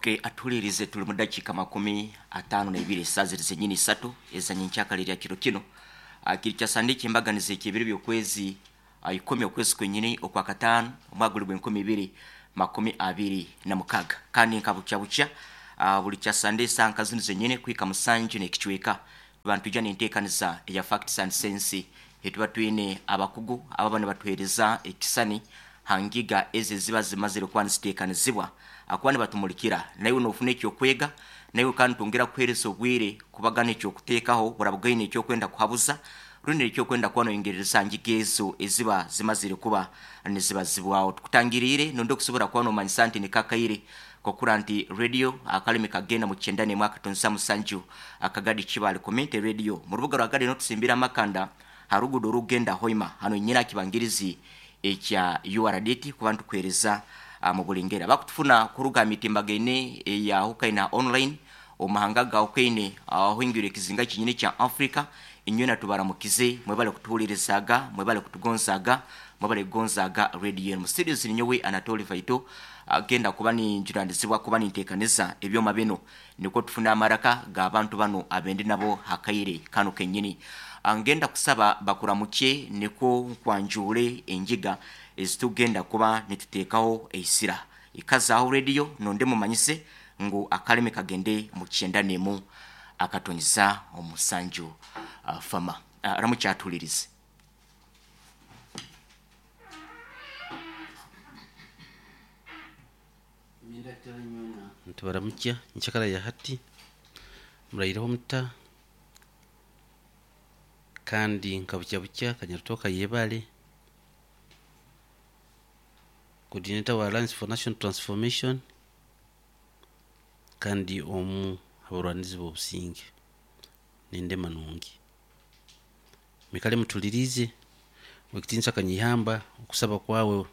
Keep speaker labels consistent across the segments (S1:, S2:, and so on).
S1: Okay, atuhulirize tuli mu dakiika 52 esaaha ziri zenyini isatu ezanyenkyakara erya kiro kino. Kiri kya Sande eky'embaganiza eky'ebiro by'okwezi 10 okwezi kwenyini okwakataano omwaka guli gw'e 2026. Kandi nka bukya bukya buli kya Sande esaaha nka zinu zenyini kuhika 7 n'ekicweka tuba nitwija n'enteekaniza eya Facts and Sense etuba twine abakugu ababa nibatuheereza ekisani ha ngiga ezi eziba zimazire kuba niziteekanizibwa akuba nibatumulikira. Naiwe noofuna eky'okwega, naiwe kandi nitwongera kukuheereza obwire kubagana eky'okuteekaho orabugaine eky'okwenda kuhabuza rundi eky'okwenda kuba noyongerereza ha ngiga ezo eziba zimazire kuba nizibazibwaho. Tukutangiriire nondi okusobora kuba nomanyisa nti niko akaire k'okura nti radio akalimi kagenda mu 91.7 Akagadi Kibaale Community Radio mu rubuga rwa Gadi notusimbira amakanda ha ruguudo orukugenda Hoima hano nyine aha kibangirizi ekya URDT kuba nitukuheereza mu buli ngeri. Abakutufuna kuruga aha mitimbagaine eyahukaine aha online omu mahanga agahukaine ahoingwire ekizinga kyenyini ekya Africa, inywena tubaramukize, mwebale kutuhulirizaaga, mwebale kutugonzaaga, mwebale kugonzaaga radio enu. Mu studios ninyowe Anatoli Vaito, agenda kuba ninjunanizibwa kuba ninteekaniza ebyoma binu nikwo tufune amaraka g'abantu banu abendi nabo ha kaire kanu kenyini. Ngenda kusaba bakuramukye nikwo nkwanjuule engiga ezitugenda kuba nituteekaho eisira. Ikazaaho radio nonde mumanyise ngu akalimi kagende mu 91.7 Fama. Ramukya atuhulirize.
S2: Nitubaramukya nkyakara ya hati, muraireho muta kandi nka bukya bukya Kanyarutooka yebare, coordinator wa Alliance for National Transformation kandi omu habarwanizi b'obusinge n'endema nungi. Mwikare mutuliriize Owekitinisa Kanyeihamba okusaba kwawe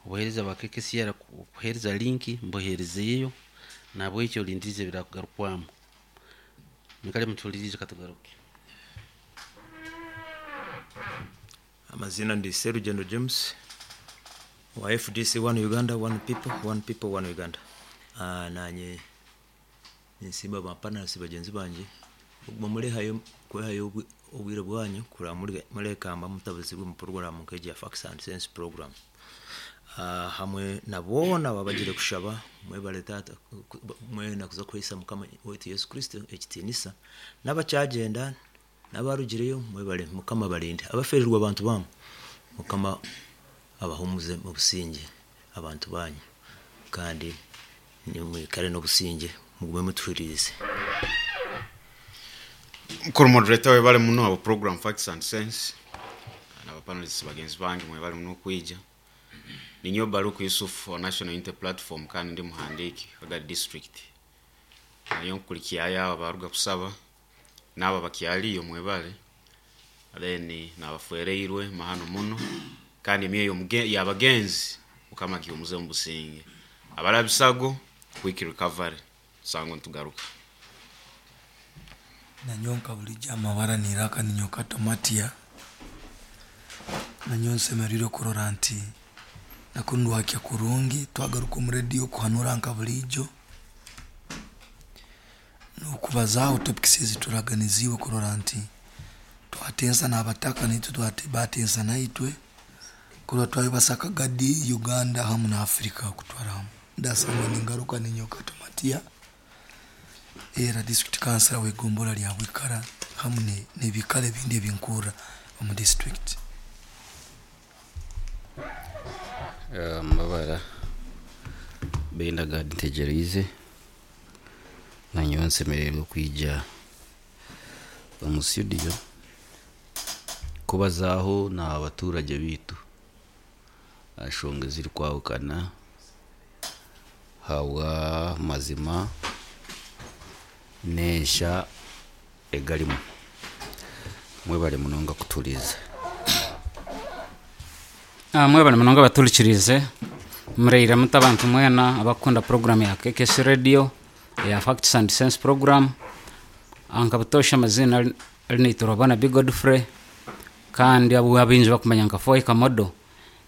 S2: obuheereza bwa KKCR kuheereza linki mbuheerizeyo nahabwekyo olindirize ebirakugarukwamu. Mwikare mutuliriize katugaruke.
S3: Amazina ndi Serugendo James wa FDC One Uganda One People One People One Uganda. Nanye ninsiima ba panelists bagyenzi bangye okuguma murehayo kwehayo obwire bwanyu kureba murekamba mutabuzibwe omu program nk'egi ya Facts and Sense program. Hamwe na boona ababagire kushaba mwebare taata mwena kuza kuhaisa mukama waitu Yesu Kristo ekitiinisa n'abakyagyenda n'abarugireyo mwebare mukama abarinde. Abaferirwe abantu baamu mukama abahumuze omu busingye abantu banyu kandi mwikare n'obusingye mugume mutuhuririze.
S4: Mukuru moderator webale muno abo program Facts and Sense na panelists bagenzi bange mwebale muno okwija. Ninyowe Baruku Yusuf wa National Unity Platform kandi ndi muhandiiki Kagadi district. Nayo nkukulikyayo abo abaruga kusaba n'abo abakyaliyo mwebale. Then n'abafereirwe mahano muno kandi emyoyo y'abagenzi mukama agihumuze omu businge. Abarabisago quick recovery sango nitugaruka.
S5: Nanyowe nka bulijo amabara niraka ninyowe Kato Matia, nanyowe nsemeriire kurora nti nakunu ndwakya kurungi twagaruka omu radio kuhanura nka bulijo n'okubazaaho topics ezituraganiziibwe kurora nti twatensa n'abataka naitwe batensa naitwe kurora twayebasa Kagadi, Uganda hamu na Africa kutwara hamu. Ndasangwa ningaruka ninyowe Kato Matia era district councillor w'egombolola lya Bwikara hamu n'ebikaro ebindi ebinkurra omu district.
S2: Amabara Benda Gad Ntegyereize, nanyowe nsemereirwe kwija omu studio kubazaaho n'abaturage baitu aha nshonga ezirikwahukana ahabwa mazima n'ensha egarimu. Mwebare munonga kutuhuriiriza.
S6: Mwebale munonga abatuhurikiriize, muraire muta abantu mwena abakukunda puroguramu ya KKC Radio eya Facts and Sense program. Nka butoosha amaziina ari Nabi Godfrey kandi abu abaingi bakumanya nka 4 Kamodo.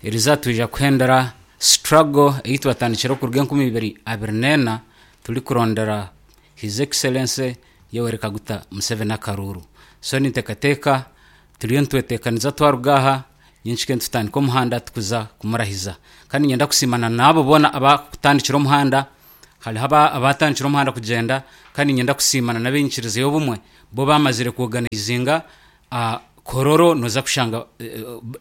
S6: Eriizooba twija kuhendera struggle ei twatandikire okuruga 2024. Turikurondera His Excellency Yoweri Kaguta Museveni akaruuru. So ninteekateeka turiyo nitweteekaniza twaruga aha nyenkike nitutandika omuhanda tukuza kumurahiza. Kandi niinyenda kusiimana n'abo boona abakutandikire omuhanda, hariho abatandikire omuhanda kugyenda, kandi niinyenda kusiimana n'ab'enyikiriza y'obumwe bo bamazire kuorganizinga Kololo noza kushanga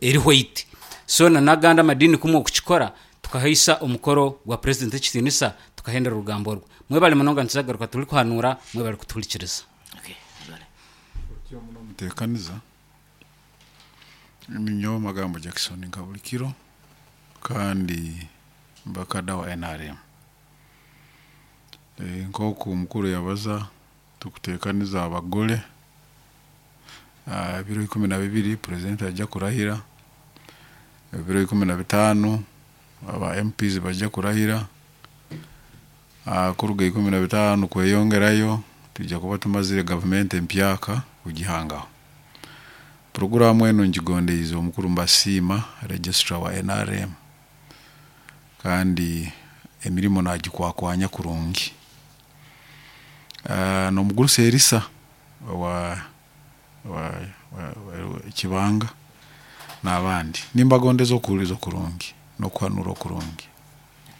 S6: eri white. So na n'agandi amadiini kumwe okukikora tukahaisa omukoro gwa president ekitiinisa tukahendera orugambo orwo. Mwebale munonga nituzagaruka turikuhanuura mwebale kutuhurikiriza.
S1: Okay, mwebale.
S7: Otyo muno omuteekaniza. Ninyowe Magambo Jackson nka buli kiro kandi mbakada wa NRM. Nk'oku omukuru yabaza tukuteekaniza abagole ebiro 12 president ajja kurahira, ebiro 15 aba MPs bajja kurahira, kuruga 15 kweyongerayo tujja kuba tumazire gavumenti empyaka kugihangaho. Puroguramu enu ngigondeize omukuru mbasiima registrar wa NRM kandi emirimo nagikwakwanya kurungi. N'omugurusi Erisa owa wa Kibanga n'abandi nimbagondeza okuhuliriza okurungi n'okuhanura okurungi.